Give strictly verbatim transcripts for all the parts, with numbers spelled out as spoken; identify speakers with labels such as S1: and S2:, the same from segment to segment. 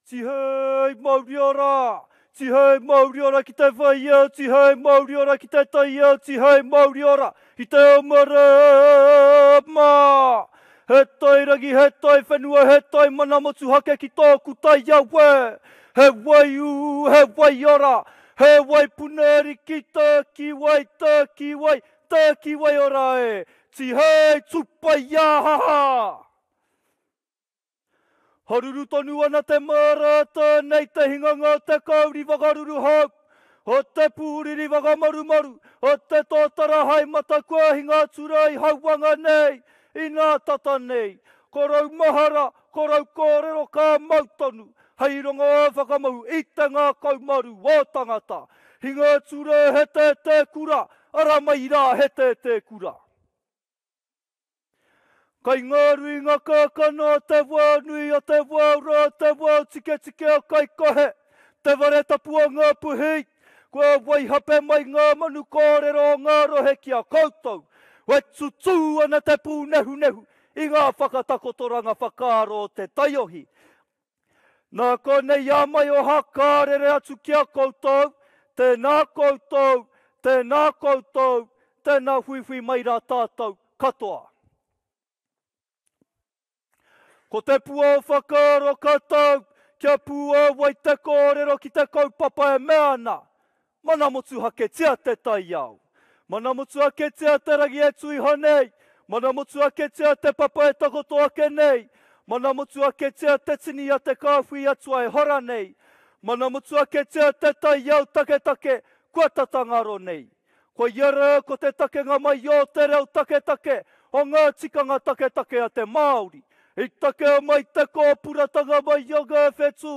S1: Tihei mauri ora! Tihei mauri ora ki te whaiao, tihei mauri ora ki te taiao, tihei mauri ora ki te ao marama! He tai rangi, he tai whenua, he tai mana motuhake ki tōku taiao e! He waiū, he waiora, he wai punariki, tākiwai, tākiwai, tākiwai ora e! Tihei tupaiahaha! Haruru tonu ana te māra nei te hinganga o te kauri whakaruru hau, o te pūriri whakamarumaru, o te tōtara hai matakua hinga atura i hauanga nei, i nā tata nei. Ko rau mahara, ko rau kōrero ka mau tonu, hei rongo whakamau i te ngākau maru o tangata. Hinga atura he te te kura, ara mai rā he te te kura. Kai ngā ruinga kākano te wā nui o te wā ora, te wā tiketike o kai kohe, te ware tapu o ngā puhi, kua waihape mai ngā manu kōrero o ngā rohe ki a koutou, we tutū ana te pūnehunehu i ngā whakatakotoranga whakaaro o te taiohi. Nā konei a mai o hakarere atu ki a koutou, tēnā koutou, tēnā koutou, tēnā huihui mai rā tātou katoa. Ko te pua o whakaaro ka tau, kia pūawai te kōrero ki te kaupapa e mea ana. Mana motuhaketia te taiao. Mana motuhaketia te rangi e tuiho nei. Mana motuhaketia te papa e takoto ake nei. Mana motuhaketia te tini a te kāhui atua e hora nei. Mana motuhaketia te taiao taketake kua tatangaro nei. Ko iara ko te takenga mai o te reo taketake o ngā tikanga taketake a te Māori. I takea mai te kōpuratanga mai o ngā whetū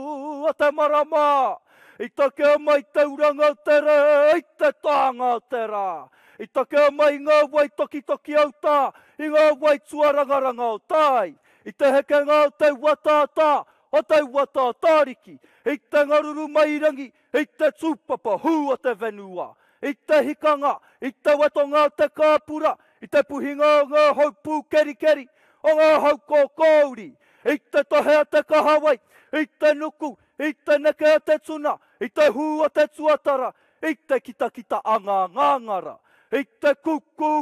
S1: a te marama. I takea mai te uranga o te rā, i te tānga o te rā. I takea mai ngā wai tokitoki au tā, i ngā wai tuarangaranga o tai. I te hekenga o te uatātā, o te uatātāriki. I te ngaruru mai rangi, i te tūpapa hū o te whenua. I te hikanga, i te wetonga o te kāpura, i te puhinga o ngā hau pūkerikeri, o ngā hau kōkōuri, i te tohe a te kahawai, i te nuku, i te neke a te tuna, i te hū o te tuatara, i te kitakita a ngā ngāngara, i te kuku,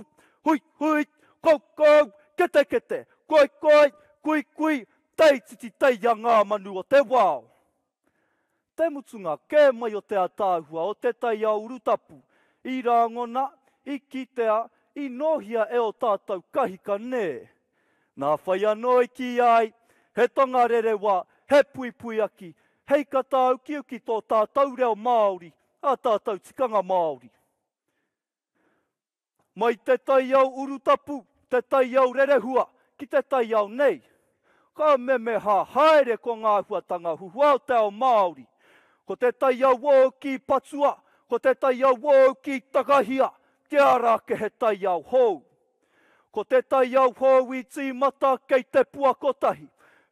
S1: hui hui, koukou, kete kete, koi koi, kui kui, teititi tei a ngā manu o te wao. Te mutunga kē mai o te ataahua o te taiao urutapu, i rāngona, i kitea, i nohia e o tātou kahika nē. Nā whai anō i ki ai, he tonga rerewa, he puipuiaki, hei ka tāukiuki tō tātou reo Māori, a tātou tikanga Māori. Mai te taiao urutapu, te taiao rerehua, ki te taiao nei. Ka memeha haere ko ngā huatanga huhua o te ao Māori. Ko te taiao wō ki patua, ko te taiao wō ki takahia, te ara ke he taiao hou. Ko te taiao hou i tīmata kei te pua kotahi.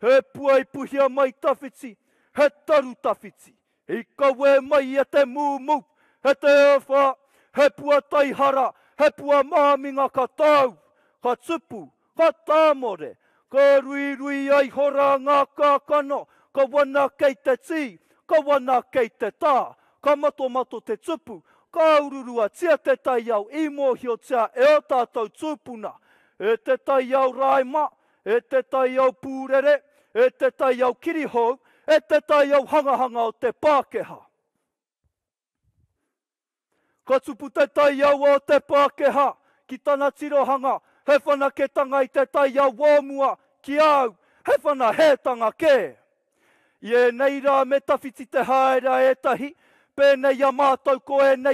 S1: He pua i puhia mai tawhiti, he taru tawhiti. I kawe mai e te mūmū, he te awha, he pua taihara, he pua māminga ka tau, ka tupu, ka tāmore, ka ruirui ai hora ngā kākano, ka wana kei te tī, ka wana kei te tā, ka matomato te tupu, ka ururuatia te taiao i mōhiotia e o tātou tūpuna, e te taiao raima, e te taiao pūrere, e te taiao kirihou, e te taiao hangahanga o te Pākehā. Ka tupu te taiao o te Pākehā ki tana tirohanga, he whanaketanga i te taiao o mua ki au, he whanahētanga kē. I ēnei rā me tawhiti te haere a ētahi, pēnei a mātou ko ēnei